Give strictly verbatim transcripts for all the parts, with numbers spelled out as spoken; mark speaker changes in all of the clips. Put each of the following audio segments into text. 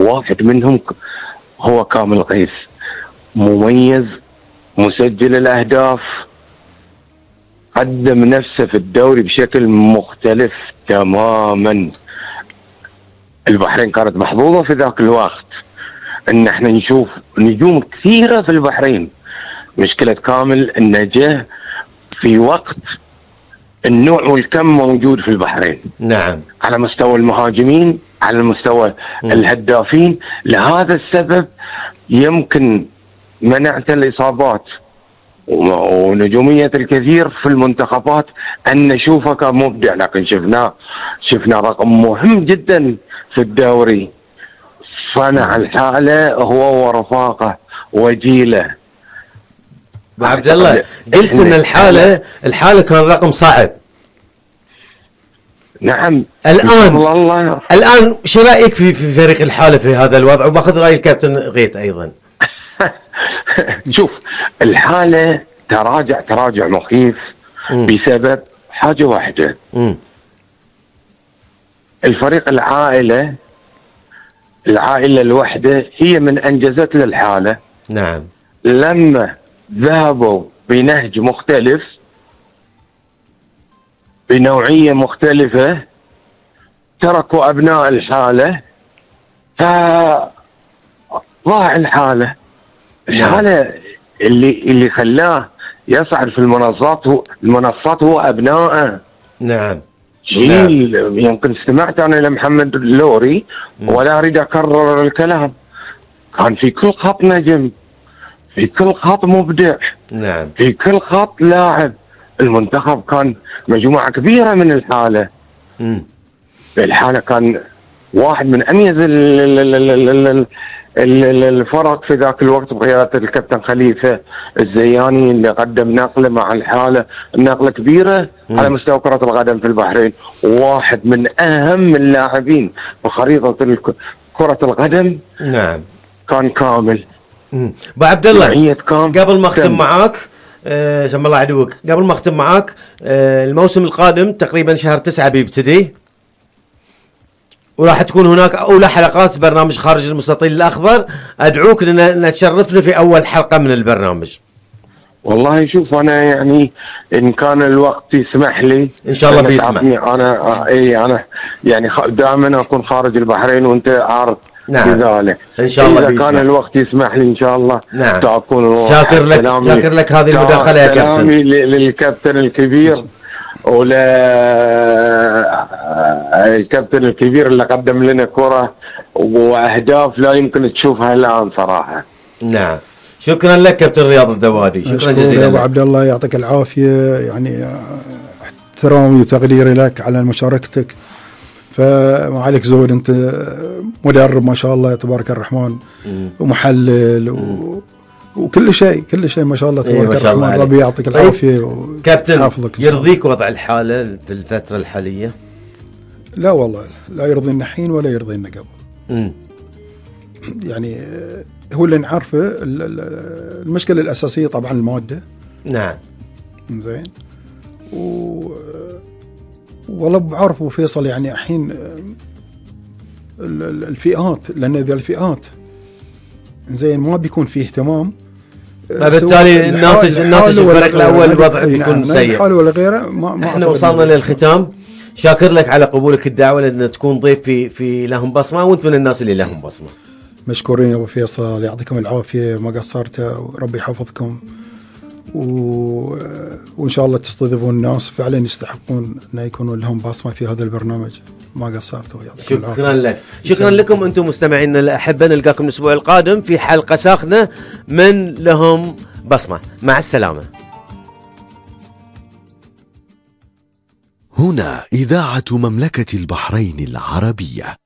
Speaker 1: واحد منهم ك- هو كامل غيث، مميز، مسجل الأهداف، قدم نفسه في الدوري بشكل مختلف تماما. البحرين كانت محظوظة في ذاك الوقت ان احنا نشوف نجوم كثيرة في البحرين. مشكلة كامل انه جه في وقت النوع والكم موجود في البحرين،
Speaker 2: نعم،
Speaker 1: على مستوى المهاجمين، على مستوى
Speaker 2: م.
Speaker 1: الهدافين. لهذا السبب يمكن منعت الإصابات ونجومية الكثير في المنتخبات أن نشوفه كان مبدع، لكن شفناه شفنا رقم مهم جدا في الدوري. صنع الحالة هو ورفاقه وجيله.
Speaker 2: عبد الله، قلت ان الحالة الحالة كان رقم صعب.
Speaker 1: نعم.
Speaker 2: الآن
Speaker 1: الله.
Speaker 2: الآن شو رأيك في في فريق الحالة في هذا الوضع؟ وباخذ رأي الكابتن غيث أيضا.
Speaker 1: شوف، الحالة تراجع تراجع مخيف م. بسبب حاجة واحدة. م. الفريق العائلة العائلة الوحدة هي من أنجزت للحالة.
Speaker 2: نعم.
Speaker 1: لما ذهبوا بنهج مختلف بنوعية مختلفة تركوا أبناء الحالة فضاع الحالة. الحالة اللي اللي خلاه يصعد في المنصات هو المنصات هو أبنائه.
Speaker 2: نعم.
Speaker 1: جيل نعم. يمكن استمعت أنا لمحمد اللوري ولا أريد أكرر الكلام. كان في كل خط نجم، في كل خط مبدع.
Speaker 2: نعم.
Speaker 1: في كل خط لاعب. المنتخب كان مجموعة كبيرة من الحالة.
Speaker 2: مم.
Speaker 1: الحالة كان واحد من أميز الفرق في ذاك الوقت بقيادة الكابتن خليفة الزياني اللي قدم نقلة مع الحالة، نقلة كبيرة مم. على مستوى كرة القدم في البحرين. واحد من أهم اللاعبين بخريطة كرة القدم.
Speaker 2: نعم.
Speaker 1: كان كامل.
Speaker 2: ابو عبد الله، قبل ما اختم معاك أه سم الله عدوك، قبل ما اختم معاك أه الموسم القادم تقريبا شهر تسعة بيبتدي، وراح تكون هناك اولى حلقات برنامج خارج المستطيل الاخضر. ادعوك لان تشرفنا في اول حلقه من البرنامج.
Speaker 1: والله شوف، انا يعني ان كان الوقت يسمح لي
Speaker 2: ان شاء الله بيسمح.
Speaker 1: انا اي انا يعني دائما اكون خارج البحرين وانت عارف.
Speaker 2: نعم.
Speaker 1: بذلك
Speaker 2: ان شاء الله
Speaker 1: إذا
Speaker 2: بيسمح.
Speaker 1: كان الوقت يسمح لي ان شاء الله.
Speaker 2: نعم.
Speaker 1: سأكون
Speaker 2: شاكر لك شاكر لك هذه المداخله يا كابتن.
Speaker 1: سلامي للكابتن الكبير ولا الكابتن الكبير اللي قدم لنا كرة واهداف لا يمكن تشوفها الان صراحه.
Speaker 2: نعم. شكرا لك كابتن رياض الذوادي. شكرا جزيلا
Speaker 3: ابو عبد الله، يعطيك العافيه. يعني احترامي وتقديري لك على مشاركتك. فما عليك زود، انت مدرب ما شاء الله تبارك الرحمن ومحلل و... وكل شيء كل شيء ما شاء الله تبارك
Speaker 2: إيه
Speaker 3: الرحمن. ربي يعطيك العافيه.
Speaker 2: طيب. كابتن، يرضيك وضع الحاله في الفتره الحاليه؟
Speaker 3: لا والله لا يرضينا الحين ولا يرضينا قبل.
Speaker 2: امم
Speaker 3: يعني هو اللي نعرفه المشكله الاساسيه طبعا الماده.
Speaker 2: نعم.
Speaker 3: زين. و والله بعرف وفيصل يعني الحين الفئات، لان اذا الفئات زين ما بيكون فيه اهتمام،
Speaker 2: فبالتالي الناتج الناتج الفريق الاول الوضع بيكون سيء.
Speaker 3: حاله ولا غيره. ما ما
Speaker 2: احنا وصلنا للختام. شاكر لك على قبولك الدعوه لان تكون ضيف في في لهم بصمه، وانت من الناس اللي لهم بصمه.
Speaker 3: مشكورين يا ابو فيصل، يعطيكم العافيه، ما قصرتوا، وربي يحفظكم. و... وإن شاء الله تستضيفون الناس فعلا يستحقون أن يكونوا لهم بصمة في هذا البرنامج. ما قصرتوا.
Speaker 2: شكرا لك. شكرا لكم أنتم مستمعينا الأحبة. نلقاكم الأسبوع القادم في حلقة ساخنة من لهم بصمة. مع السلامة.
Speaker 4: هنا إذاعة مملكة البحرين العربية.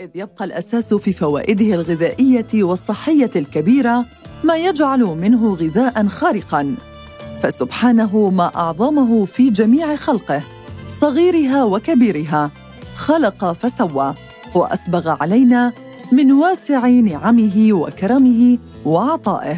Speaker 5: إذ يبقى الأساس في فوائده الغذائية والصحية الكبيرة ما يجعل منه غذاء خارقاً، فسبحانه ما أعظمه في جميع خلقه، صغيرها وكبيرها، خلق فسوى وأسبغ علينا من واسع نعمه وكرمه وعطائه.